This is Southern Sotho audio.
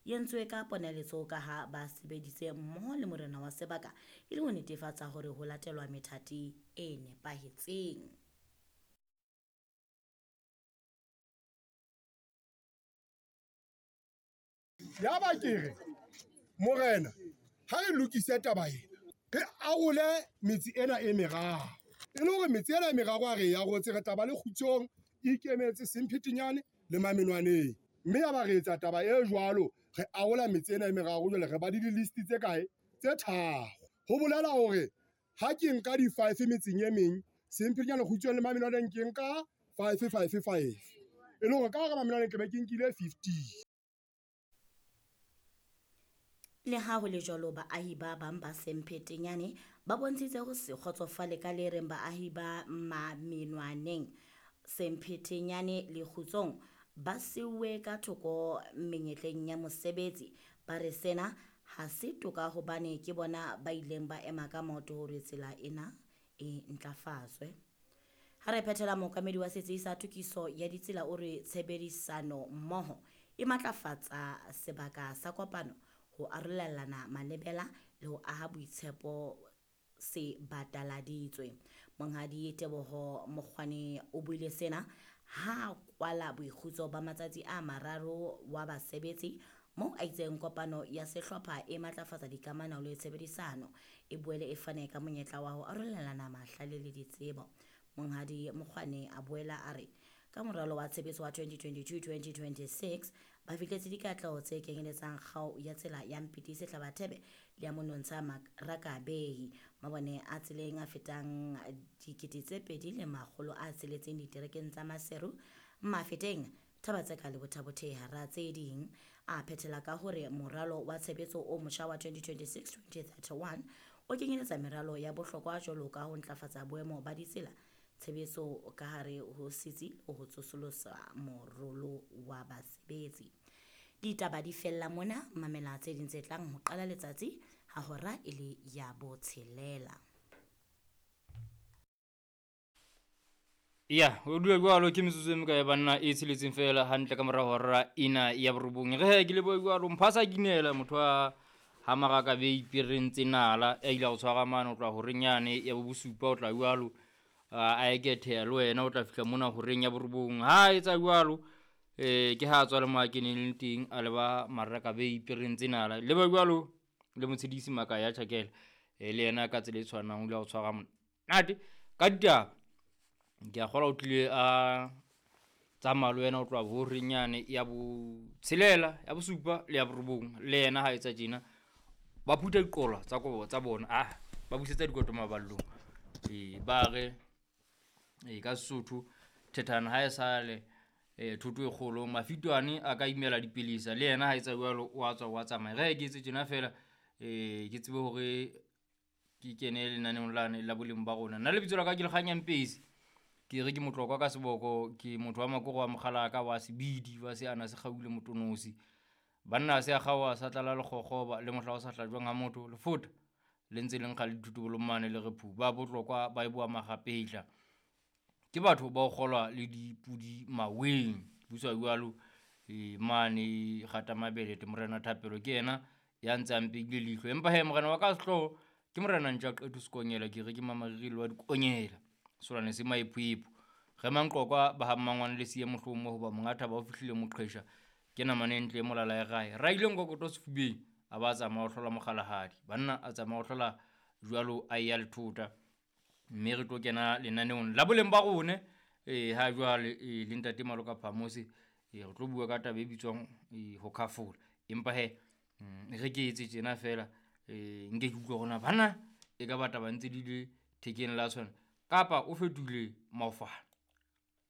e entswe ka ponaletso ka ha ba sebeditse mmoho le morena wa sebaka e le ho netefatsa hore ho latelwa methati e nepahetseng. Yaba ke re, Morena, ha re lokise taba ena, re arole metse ena e meraro. E le hore metse ena e meraro ha re e arotse, re tla ba le Kgutsong, Ikemetse, Semphetenyane le Mamenwaneng. Mme yaba re etsa taba e jwalo, re arola metse ena e meraro, jwale re ba le di-list tse kae? Tse tharo. Ho bolela hore ha ke nka di-five metseng e meng, Semphetenyane, Kgutsong le Mamenwaneng ke nka five, five, five. E le hore ka hara Mamenwaneng ke be ke nkile 15. Le ha ho le jwalo, baahi ba bang ba Semphetenyane ba bontshitse ho se kgotsofale ka le reng baahi ba Mamenwaneng, Semphetenyane le Kgutsong ba siuwe ka thoko menyetleng ya mosebetsi. Ba re sena ha se toka hobane ke bona ba ileng ba ema ka maoto hore tsela ena e ntlafatswe. Ha re phethela, mookamedi wa setsi sa tokiso ya ditsela o re tshebedisano mmoho e matlafatsa sebaka sa kopano, ho arolelana malebela le ho aha boitshepo se bataladitswe. Monghadi Teboho Mokgwane o buile sena ha kwala boikgutso ba matsatsi a mararo wa basebetsi moo a itseng kopano ya sehlopha e matlafatsa dikamano le tshebedisano, e boele e fane ka monyetla wa ho arolelana mahlale le ditsebo. Monghadi Mokgwane a boela a re ka moralo wa tshebetso wa 2022-2026 ba fihletse dikatleho tse kenyeletsang kgao ya tsela ya Mpiti Sehlabathebe le ya Monontsha Rakabehi, mabone a tseleng a fetang 2,600 diterekeng tsa Maseru, Mafeteng, Thaba-Tseka le Botha-Bothe hara tse ding. A phethela ka hore moralo wa tshebetso o motjha wa 2026-2031 o kenyeletsa meralo ya bohlokwa jwalo ka ho ntlafatsa boemo ba ditsela, tshebetso ka hare ho setsi le ho tsosolosa morolo wa basebetsi. Ditaba di fella mona, mamela tse ding tse tlang ho qala letsatsi ha hora e le ya botshelela. Ya, o dule jwalo ke metsotso e mekae banna e tsheletseng fela hantle ka mora hora ena ya borobong. Re he ke lebohe jwalo mphasa kinela motho wa ha maraka be ipereng tse nala ya ile go tshwara mane o tla horeng yane ya bo bosupa o tla jwalo a eketheha le wena o tla fihla mona horeng ya borobong. Ha etsa jwalo ke ha tswa le mo a keneng le teng a leba maraka be ipereng tse nala. Leba jwalo le motshedisi Maka ya tjhakela le yena ka tsela e tshwanang o ile go tshwara monate ka ditaba. Ke a kgolwa o tlile a tsamaya le wena o tloha horeng yane ya botshelela, ya bosupa le ya borobong. Le yena ha etsa tjena ba phutha diqolwa tsa kobo tsa bona, ba busetsa dikoto maballong. Ba re ka Sesotho thethana ha e sale thoto e kgolo, mafitwane a ka imela dipelesa. Le yena ha etsa jwalo o a tswa o a tsamaya. Re ke etse tjena fela ke tsebe hore ke kene lenaneong lane la boleng ba rona. Nna lebitso la ka ke Lekganya Mpesi. Ke re ke motlokwa ka seboko, ke motho wa makoro wa mokgalaka wa sebidi wa se ana se kgaule motonosi. Banna se a kgaoha sa tlala lekgokgoba le mohla o sa hlajwang ha motho lefota le ntse le nkga le dithotobolo mane le re phu. Ba botlokwa ba e boa magapetla. Ke batho ba o kgolwa le dipudi maweng. Buswa jwalo mane kgata mabele te morena Thapelo ke yena ya ntse a mpehile leihlo. Empa he morena wa ka sehloho ke morena Ntja Qetho Sekonyela, ke re ke mamariri wa dikonyela. Solwane se maephoepho. Re manqokwa ba ha mmangwane le siye mohlomo hoba monga thaba o fihlile moqhesha. Ke namane ntle molala ya rae. Ra ile nkokoto sefubeng a ba tsamaya ho hlola mokgalahadi. Banna a tsamaya ho hlola jwalo a ya lethota. Mme re tlo kena lenaneong la boleng ba rone ha jwale le ntate Maloka Phamose re tlo bua ka taba e bitswang ho khafola. Empa he re ke etse tjena fela nke ke utlwe hore na bana e ka ba taba ntse di le thekeng la tshwana kapa o fetohile maofana.